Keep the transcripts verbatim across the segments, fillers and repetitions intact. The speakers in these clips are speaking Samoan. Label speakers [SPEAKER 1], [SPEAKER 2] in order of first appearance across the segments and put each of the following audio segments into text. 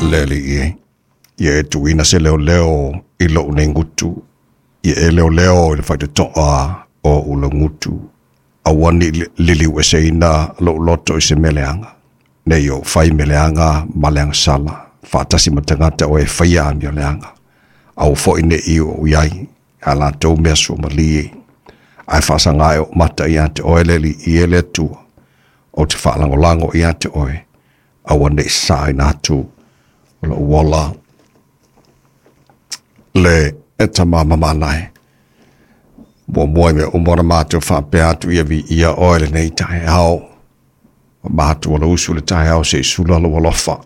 [SPEAKER 1] Le alii e, ia e tuuina se leoleo i lou nei gutu, ia e leoleo i le faitotoa o ou laugutu, aua ne i liliueseina lou loto i se mea leaga, ne i ou fai mea leaga ma le agasala, faatasi ma tagata o e faia amioleaga, aua foi ne i ou i ai, a latou mea suamalie, ae faasaga e ou mata ia te oe le Alii e le Atua, ou te faalagolago ia te oe, aua ne i saina atu o lou ola le e tama mamanae. Muamua i mea uma ona matou faapea atu ia viia oe lenei taeao. Ua matou alausu le taeao se i sula lou alofa.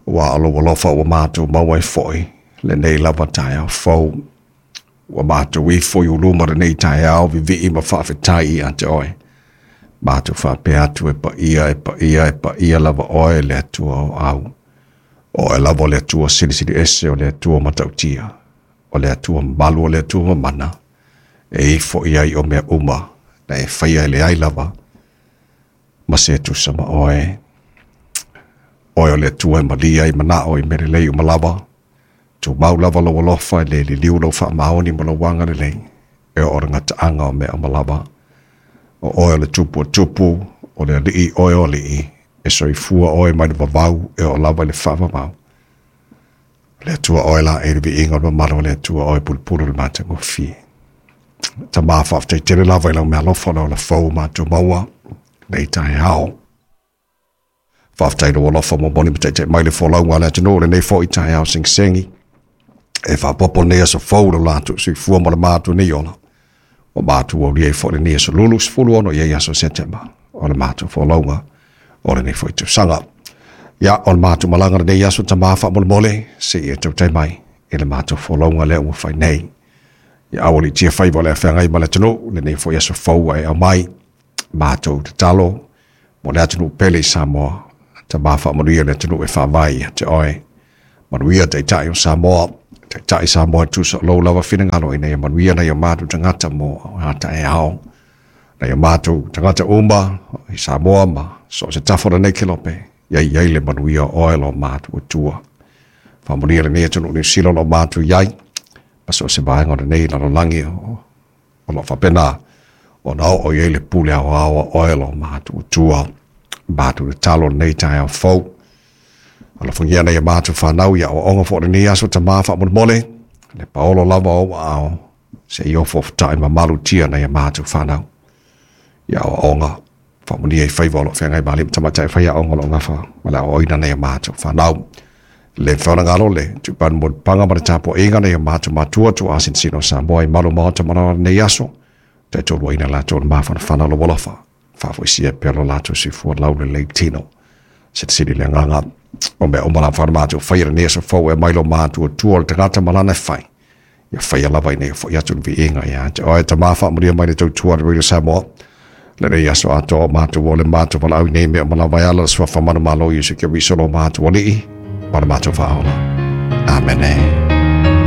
[SPEAKER 1] Ua o lou alofa ua matou maua ai foi lenei lava taeao fou. Ua matou ifo i uluma lenei taeao vivii ma faafetai ia te oe. Matou faapea atu e paia, e paia, e paia lava oe le Atua o au. O oe lava o le Atua silisili ese, o le Atua matautia, o le Atua mamalu, o le Atua mamana, e ifo i ai o mea uma, na e faia e leai lava, ma se tusa ma oe. Oe o le Atua e malia i manao i mea lelei uma lava, tumau lava lou alofa e le liliu lau faamaoni ma lou agalelei, e oo i le gataaga o mea uma lava. O oe o le tupu o tupu, o le alii oe o alii, e soifua oe mai le vavau e oo lava i le faavavau. O le Atua oe la e le viiga o le mamalu o le Atua oe pulupulu le matagofie. Tama faafetai tele lava i lau meaalofa o le ola fou matou maua nei taeao. Faafetai i lou alofa momoli ma taitai mai le folauga a le atunuu lenei foi taeao segisegi. E faaopoopo lenei aso fou i lo latou soifua ma le matou nei ola. Ua matou aulia ai foi lenei aso lulu sefulu ono i ai aso Setema o le matou folauga o lenei foi tausaga. Ia, o le matou malaga lenei aso tama faamolemole, seia tautai mai i le matou folauga lea ua fai nei. Ia aualiitia faiva o le afeagai ma le atunuu lenei foi aso fou ua e aumai. Matou tatalo mo le atunuu pele i Samoa, tama faamanuia le atunuu e faavae ia te oe. Manuia taitai o Samoa, taitai Samoa e tusa o lou lava finagalo ina ia manuia nai o matou tagata mo a taeao. Nai o matou tagata uma i Samoa ma so o se tafa o lenei kelope, ia i ai le manuia o oe lo matou Atua. Faamanuia lenei atunuu Niu Sila o lo o matou i ai, ma so o se vaega o lenei lalolagi o lo o faapena ona oo i ai le pule aoao a oe lo matou Atua. Matou tatalo lenei taeao fou. Alofagia nai a matou fanau i aoaoga foi o lenei aso tama faamolemole, le paolo lava o ou aao, se i ofo ofotai ma malutia nai a matou fanau i aoaoga. Faamanuia i faiva o lo o feagai ma alii ma tamaitai faiaoga o lo o gafa ma le aoaoina nai a matou fanau. Le mafai ona galo le tuupanu mo le paga ma le tapuaiga nai a matou matua tuuasinasina o Samoa i malu maota ma lenei aso. Taitoluaina latou le mafanafana o lou alofa. Faafoisia pea lo latou soifua laulelei tino. Silisili le agaga o mea uma lava na matou faia lenei aso fou e mai lo matou Atua o le tagata ma lana e fai. Ia faia lava ina ia foi atu le viiga ia te oe tama faamanuia mai le tautua a le Radio Samoa. Lenei aso atoa o matou o le matou valaau i nei mea uma lava e ala le suafa manumalo Iesu Keriso lo matou Alii ma le matou Faaola. Amene.